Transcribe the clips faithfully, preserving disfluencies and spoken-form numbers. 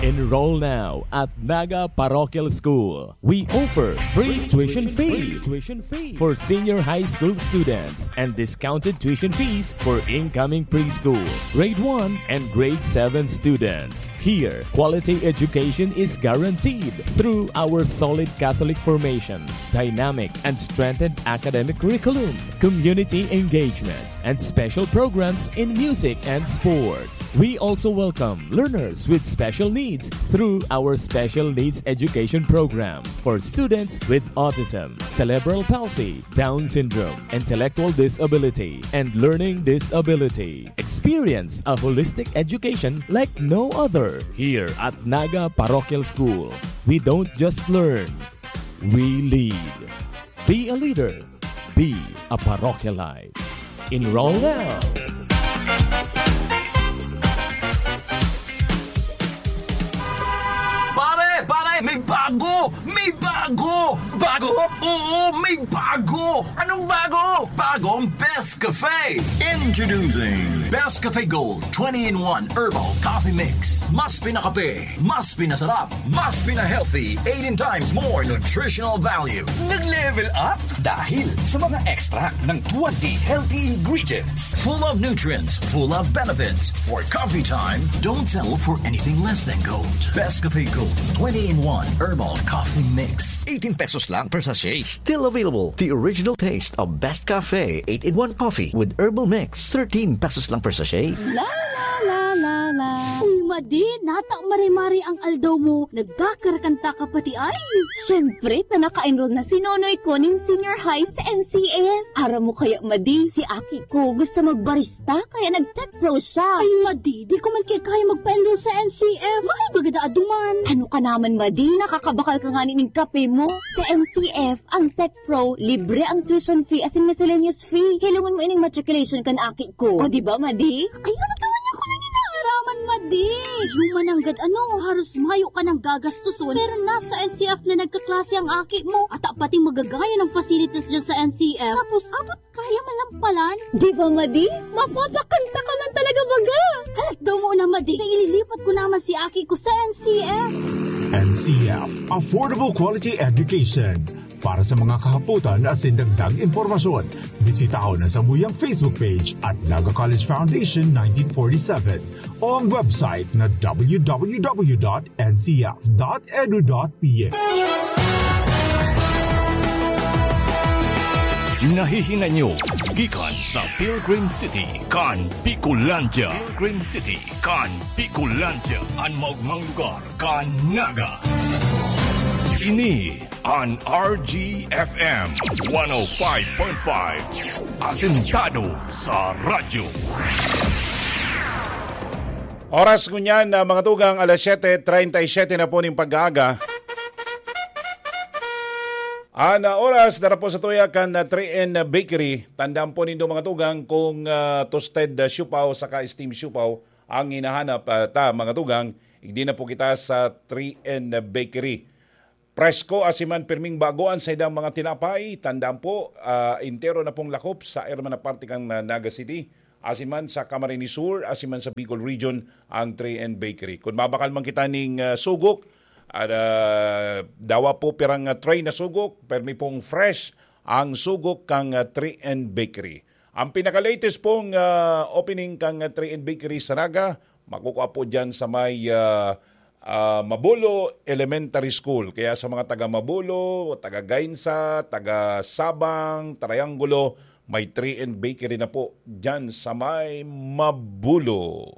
Enroll now at Naga Parochial School. We offer free tuition fee for senior high school students and discounted tuition fees for incoming preschool, grade one, and grade seven students. Here, quality education is guaranteed through our solid Catholic formation, dynamic and strengthened academic curriculum, community engagement, and special programs in music and sports. We also welcome learners with special needs through our Special Needs Education Program for students with autism, cerebral palsy, Down syndrome, intellectual disability, and learning disability. Experience a holistic education like no other here at Naga Parochial School. We don't just learn, we lead. Be a leader. Be a Parochialite. Enroll now. Pare! Pare! May bago! May bago! Bago? Oo, may bago! Anong bago? Bagong Best Cafe! Introducing Best Cafe Gold twenty-in-one Herbal Coffee Mix. Mas pinakape, mas pinasarap, mas pinahealthy, eighteen times more nutritional value. Nag-level up dahil sa mga extract ng twenty healthy ingredients. Full of nutrients, full of benefits. For coffee time, don't settle for anything less than gold. Best Cafe Gold twenty-in-one Herbal Coffee Mix. Eighteen pesos lang per sachet. Still available, the original taste of Best Cafe eight-in-one Coffee with Herbal Mix. Thirteen pesos lang per sachet. La la la la la. Uy, Madi, nata mare-mare ang aldaw mo. Nagkakarakanta ka pati ay. Siyempre, ta naka-enroll na si Nonoy ko nin senior high sa N C F. Aram mo kaya, Madi, si aki ko gusto magbarista, kaya nag-tech pro siya. Ay, Madi, di ko man kaya magpa-enroll sa N C F. Bakit baga da aduman? Ano ka naman, Madi? Nakakabakal ka nga ning kape mo. Sa N C F, ang tech pro, libre ang tuition fee asin miscellaneous fee. Hilongon mo ining matriculation kan aki ko. O, di ba, Madi? Ay, ano naman ako nang inaaraman, Madi? Human nanggad ano, haros mayo ka nang gagastuson. Pero nasa N C F na nagkaklase ang aki mo. At pati magagaya ng facilities dyan sa N C F. Tapos, abot kaya man lang palan. Di ba, Madi? Mapapakanta ka man talaga baga. Halat daw mo na, Madi. Kaya ililipat ko naman si aki ko sa N C F. N C F, Affordable Quality Education. Para sa mga kahapotan asin dagdag impormasyon, bisitahon ang samuyang Facebook page at Naga College Foundation nineteen forty-seven o ang website na w w w dot n c f dot edu dot p h. Nahihinay nyo gikan sa Pilgrim City kan Bicolandia. Pilgrim City kan Bicolandia, an maogmang lugar kan Naga. Ini an R G F M one oh five point five, asentado sa radyo. Oras ngunyan na mga tugang, alas siyete treinta y siete na po ning pag-aaga. An, ah, oras dara po sa tuya kan, ah, three N Bakery. Tandaan po nindo mga tugang kung, ah, toasted, ah, siopao saka steam siopao ang hinahanap, ah, ta mga tugang, igdi na po kita sa three N Bakery. Presko asin man pirming bago an saindang mga tinapay. Tandaan po, ah, entero na pong lakop sa irma na parte kan, ah, Naga City. Asin man sa Camarines Sur, asin man sa Bicol Region ang three N Bakery. Kung mabakal man kita ning, ah, sugok, at, ah, dawa po pirang, ah, tray na sugok, permi pong fresh ang sugok kang, ah, three N Bakery. Ang pinaka-latest pong, ah, opening kang, ah, three N Bakery sa Naga, makukua po diyan sa may, ah, ah, Mabulo Elementary School. Kaya sa mga taga Mabulo, taga Gainsa, taga Sabang, Triangulo, may three N Bakery na po diyan sa may Mabulo.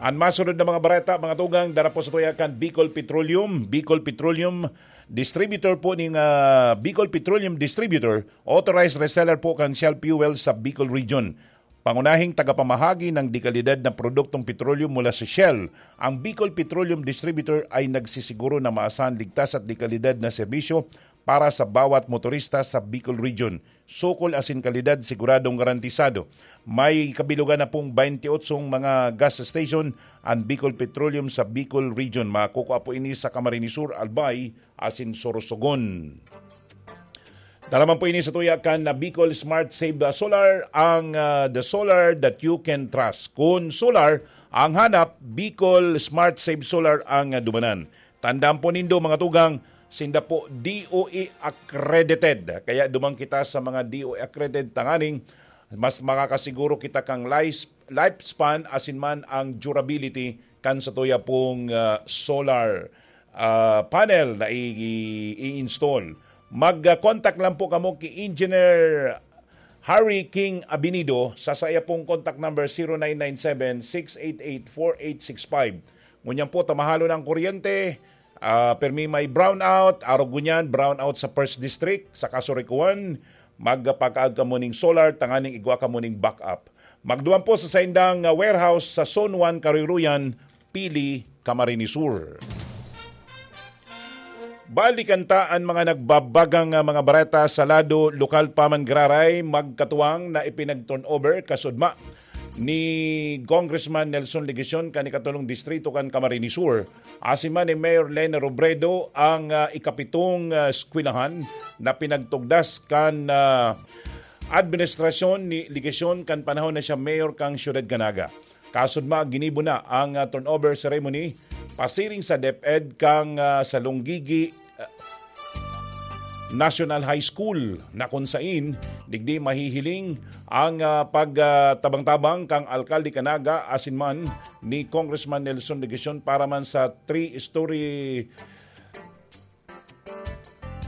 An masunod na mga bareta, mga tugang, dara po sa tuya kan Bicol Petroleum. Bicol Petroleum, distributor po ning, ah, Bicol Petroleum Distributor, authorized reseller po kan Shell Fuel sa Bicol Region. Pangunahing tagapamahagi ng dekalidad na produktong petrolyo mula sa Shell, ang Bicol Petroleum Distributor ay nagsisiguro na maasahan, ligtas at dekalidad na serbisyo para sa bawat motorista sa Bicol Region. Sukol asin kalidad siguradong garantisado. May kabilugan na pong twenty-eight mga gas station an Bicol Petroleum sa Bicol Region. Makukua po ini sa Camarines Sur, Albay asin Sorsogon. Dara man po ini sa tuya kan, ah, Bicol Smart Save, ah, Solar, ang, ah, the solar that you can trust. Kun solar ang hanap, Bicol Smart Save Solar ang, ah, dumanan. Tandaan po nindo, mga tugang, sinda po D O E accredited. Kaya duman kita sa mga D O E accredited tanganing mas makakasiguro kita kan life-, lifespan asin man ang durability kan sa tuya pong, ah, solar, ah, panel na i-, i-, i-install. Mag-contact lang po kamo ki Engineer Harry King Abinido sa saya pong contact number, zero nine nine seven, six eight eight, four eight six five. Ngunyan po, ta mahalon ang kuryente, ah, permi may brownout, arog ngunyan, brownout sa First District, sa Kasurikuan, magpakaag kamo ning solar, tanganing igwa kamo ning backup. Magduman po sa saindang, ah, warehouse sa Zone one, Karuruyan, Pili, Camarines Sur. Balikan ta an mga nagbabagang, ah, mga bareta sa lado lokal pa man giraray, magkatuwang na ipinag-turnover kasudma ni Congressman Nelson Legacion kan ikatulong distrito kan Camarines Sur, asin man ni Mayor Lene Robredo ang, ah, ikapitong, ah, eskwelahan na pinagtugdas kan, ah, administrasyon ni Legacion kan panahon na siya mayor kan Siyudad kan Naga. Kasudma, ginibo na ang, ah, turnover ceremony pasiring sa DepEd kan, ah, Salonggigi, ah, National High School, na kun sain digdi mahihiling ang, ah, pagtabang-tabang kan alkalde kan Naga asin man ni Congressman Nelson Legacion para man sa three-story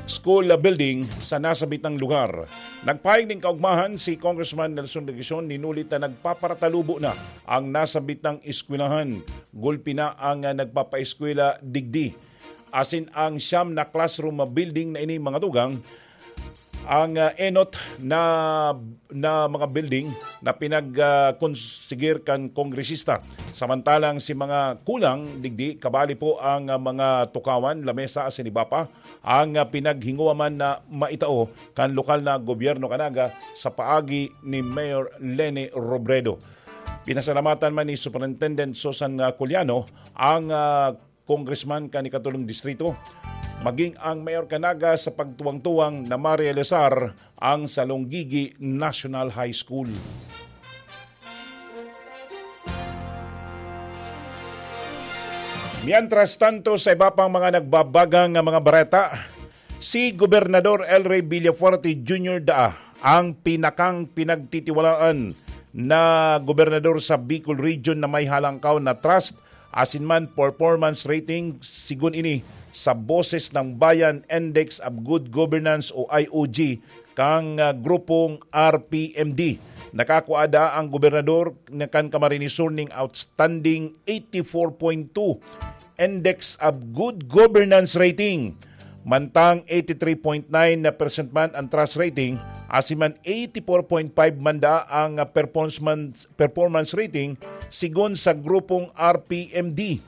school building sa nasabitang lugar. Nagpahayag nin kaugmahan si Congressman Nelson Legacion, hinulit na nagpaparatalubo na ang nasabitang eskwelahan. Gulpi na ang, ah, nagpapaeskwela digdi. Asin ang siyam na classroom building na ini, mga tugang, ang, ah, enot na, na mga building na pinag, ah, konsigir kan kongresista. Samantalang si mga kulang digdi, kabali po ang, ah, mga tukawan, lamesa asin iba pa, ang, ah, pinaghingowa man na maitao kan lokal na gobyerno kan Naga sa paagi ni Mayor Lene Robredo. Pinasalamatan man ni Superintendent Susan, ah, Culiano ang, ah, congressman kan ikatulong distrito, maging ang mayor kan Naga sa pagtuwang-tuwang na marealisar ang Salonggigi National High School. Mientras tanto, sa iba pang mga nagbabagang nga mga bareta, si Gobernador El Rey Villafuerte Junior daa ang pinakang pinagtitiwalaan na gobernador sa Bicol Region na may halangkaw na trust asin man performance rating, sigon ini sa Boses ng Bayan Index of Good Governance o I O G kang, ah, grupong R P M D. Nakakua daa ang gobernador na kan Camarines Sur ning outstanding eighty-four point two Index of Good Governance rating. Mantang eighty-three point nine na percent man ang trust rating, asin man eighty-four point five man daa ang, ah, performance man, performance rating, sigon sa grupong R P M D.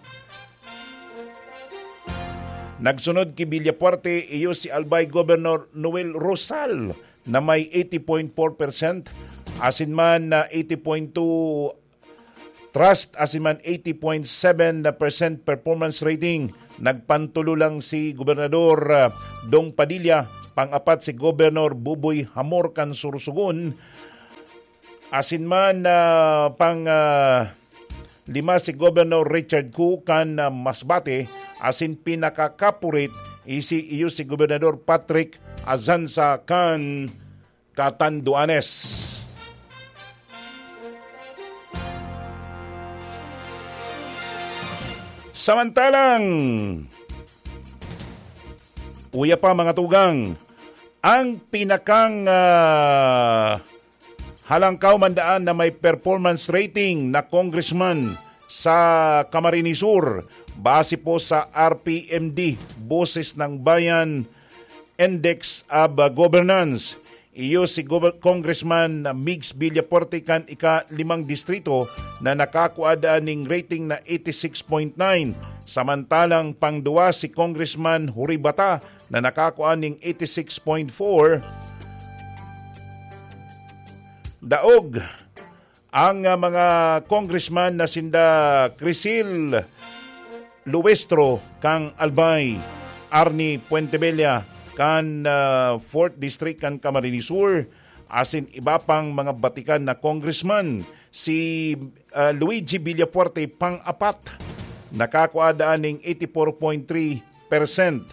Nagsunod ki Villafuerte, iyo si Albay Governor Noel Rosal na may eighty point four percent, asin man na eighty point two trust, asin man eighty point seven na percent performance rating. Nagpantulo lang si Gobernador, ah, Dong Padilla, pang-apat si Governor Buboy Hamor kan Sorsogon, asin man, ah, pang, ah, lima si Governor Richard Koo kan, ah, Masbate, asin pinakakapurit isi iyo si Gobernador Patrick Azanza kan Catanduanes. Samantalang, uya pa, mga tugang, ang pinakang, ah, halangkaw man daan na may performance rating na congressman sa Camarines Sur, base po sa R P M D, Boses ng Bayan Index of, ah, Governance. Iyo si Gober-, Congressman Migs Villafuerte kan ika-limang distrito na nakakua daan ning rating na eighty-six point nine, samantalang pangduwa si Congressman Huri Bata na nakakua ning eighty-six point four. Daog ang, ah, mga congressman na sinda Crisil Luestro kang Albay, Arnie Puentebella kan, ah, fourth District kan Camarines Sur, asin iba pang mga batikan na congressman. Si, ah, Luigi Villafuerte, pang-apat, nakakua daan ning eighty-four point three percent.